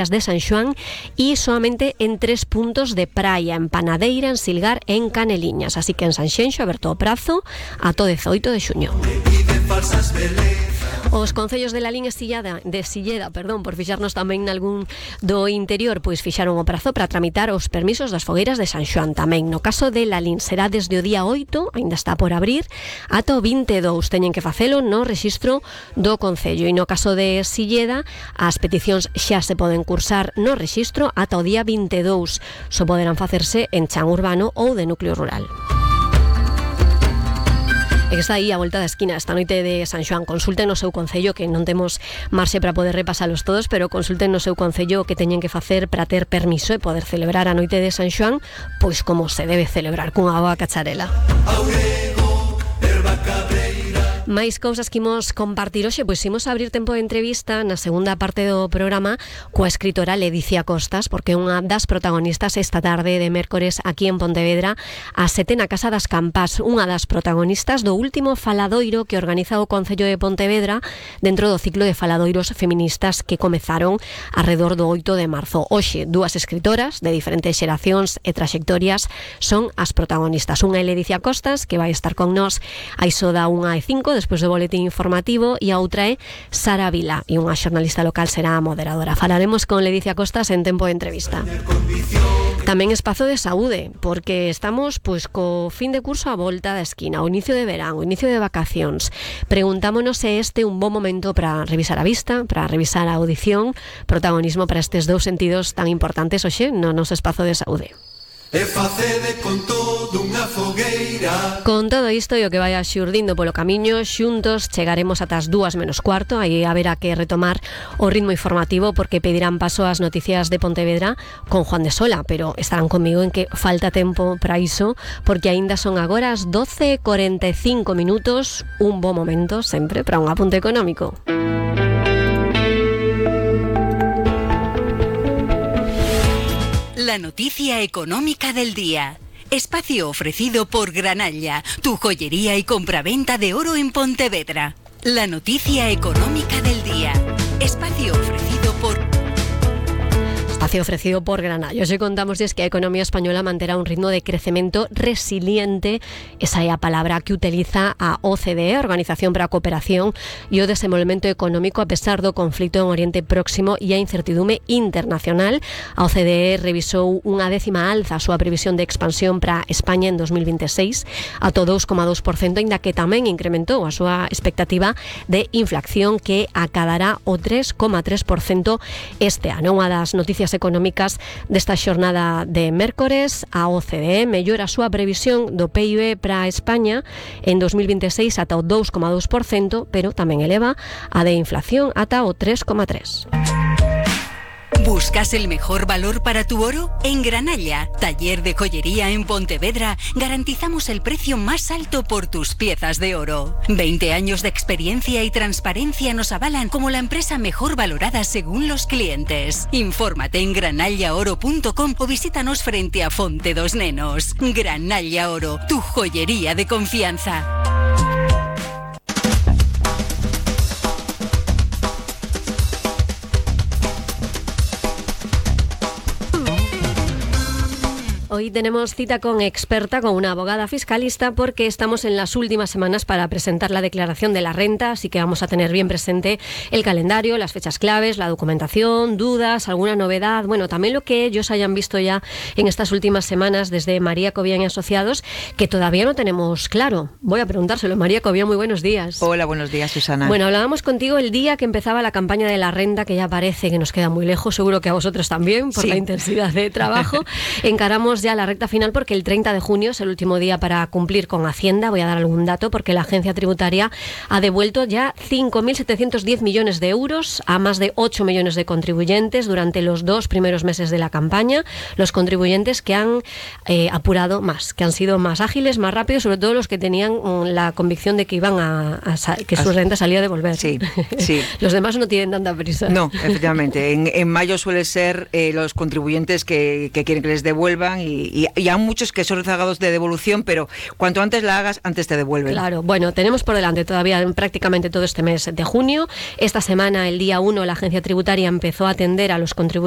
de San Xoán y solamente en 3 puntos de praia, en Panadeira, en Silgar e en Caneliñas. Así que en Sanxenxo aberto o prazo ata o 18 de xuño. Os concellos de Lalín e Silleda, por fixarnos tamén nalgún do interior, pois fixaron o prazo para tramitar os permisos das fogueiras de San Xoán tamén. No caso de Lalín será desde o día 8, aínda está por abrir, ata o 22. Teñen que facelo no rexistro do concello. E no caso de Silleda, as peticións xa se poden cursar no rexistro ata o día 22. Só poderán facerse en chan urbano ou de núcleo rural. E que está aí a volta da esquina esta noite de San Xoán. Consulten no seu concello, que non temos marxe para poder repasalos todos, pero consulten no seu concello o que teñen que facer para ter permiso e poder celebrar a noite de San Xoán, pois como se debe celebrar, cunha boa cacharela. Máis cousas que imos compartir hoxe, pois imos abrir tempo de entrevista na segunda parte do programa coa escritora Ledicia Costas, porque é unha das protagonistas esta tarde de mércores aquí en Pontevedra a 7 na Casa das Campás, unha das protagonistas do último faladoiro que organiza o Concello de Pontevedra dentro do ciclo de faladoiros feministas que comezaron alrededor do 8 de marzo. Hoxe, dúas escritoras de diferentes xeracións e traxectorias son as protagonistas. Unha é Ledicia Costas, que vai estar con nós a iso da 1:05 despois do boletín informativo, e a outra é Sara Vila, e unha xornalista local será a moderadora. Falaremos con Ledicia Costas en tempo de entrevista. Tamén espazo de saúde, porque estamos pois co fin de curso a volta da esquina, o inicio de verán, o inicio de vacacións. Preguntámonos se este é un bon momento para revisar a vista, para revisar a audición, protagonismo para estes dous sentidos tan importantes hoxe no noso espazo de saúde. E facede con todo unha fogueira. Con todo isto e o que vai xurdindo polo camiño, xuntos chegaremos ata as 2:15. Aí haberá que retomar o ritmo informativo porque pedirán paso ás noticias de Pontevedra con Juan de Sola, pero estarán comigo en que falta tempo para iso, porque aínda son agora as 12:45, un bo momento sempre para un apunte económico. La noticia económica del día. Espacio ofrecido por Granalla, tu joyería y compraventa de oro en Pontevedra. La noticia económica del día. Espacio ofrecido por Granalla. Hoxe contámosles que a economía española manterá un ritmo de crecemento resiliente. Esa é a palabra que utiliza a OCDE, a Organización para a Cooperación e o Desenvolvemento Económico, a pesar do conflito en Oriente Próximo e a incertidume internacional. A OCDE revisou unha 10ª alza a súa previsión de expansión para España en 2026 ata o 2,2%, aínda que tamén incrementou a súa expectativa de inflación, que acadará o 3,3% este ano. Unha das noticias económicas desta xornada de mércores, a OCDE mellora a súa previsión do PIB para España en 2026 ata o 2,2%, pero tamén eleva a de inflación ata o 3,3%. ¿Buscas el mejor valor para tu oro? En Granalla, taller de joyería en Pontevedra, garantizamos el precio más alto por tus piezas de oro. 20 años de experiencia y transparencia nos avalan como la empresa mejor valorada según los clientes. Infórmate en granallaoro.com o visítanos frente a Fonte dos Nenos. Granalla Oro, tu joyería de confianza. Hoy tenemos cita con experta, con una abogada fiscalista, porque estamos en las últimas semanas para presentar la declaración de la renta, así que vamos a tener bien presente el calendario, las fechas claves, la documentación, dudas, alguna novedad, bueno, también lo que ellos hayan visto ya en estas últimas semanas desde María Cobian y Asociados, que todavía no tenemos claro. Voy a preguntárselo. María Cobian, muy buenos días. Hola, buenos días, Susana. Bueno, hablábamos contigo el día que empezaba la campaña de la renta, que ya parece que nos queda muy lejos, seguro que a vosotros también, por la intensidad de trabajo. Encaramos ya la recta final porque el 30 de junio es el último día para cumplir con Hacienda. Voy a dar algún dato porque la agencia tributaria ha devuelto ya 5.710 millones de euros a más de 8 millones de contribuyentes durante los 2 primeros meses de la campaña. Los contribuyentes que han apurado más, que han sido más ágiles, más rápidos, sobre todo los que tenían la convicción de que iban que su renta salía a devolver. Sí, sí. Los demás no tienen tanta prisa. No, efectivamente. En mayo suele ser los contribuyentes que quieren que les devuelvan y hay muchos que son rezagados de devolución, pero cuanto antes la hagas, antes te devuelven. Claro, bueno, tenemos por delante todavía prácticamente todo este mes de junio. Esta semana, el día 1, la agencia tributaria empezó a atender a los contribuyentes